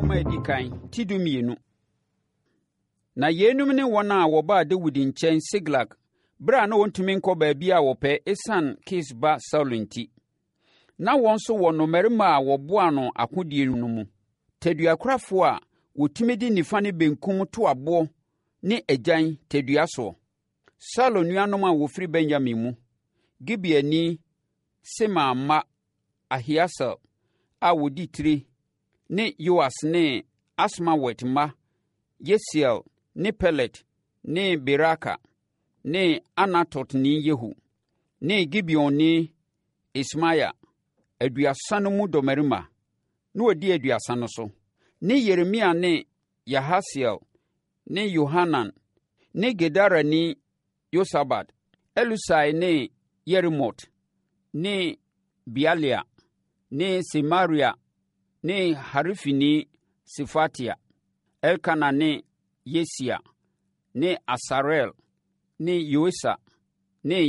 Nwoma a ɛdi kan, ti 12. Na yeinom ne wɔn a wɔbaa Dawid nkyɛn Siklag berɛ a na wɔntumi nkɔ baabi a wɔpɛ ɛsiane Kis ba Saulo nti. Na wɔn nso wɔ nnɔmmarima a wɔboaa no akodie no mu, taduakurafoɔ a wɔtumi de nifa ne benkum to aboɔ ne agyan tadua soɔ. Saulo nuanom a wɔfiri Benyamin mu, Gibeani Semaa mma Ahieser a ɔdi tire ne Yoas ne Asmawet mma Yesiel ne Pelet ne Beraka ne Anatotni Yehu ne Gibeonni Ismaia, 30 no mu dɔmmarima, na wɔdi 30 no so, ne Yeremia ne Yahasiel ne Yohanan ne Gederani Yosabad, Elusai ne Yerimot ne Bealia ne Semaria ne Harifini Sefatia, Elkana ne Yisia ne Asarel ne Yoeser ne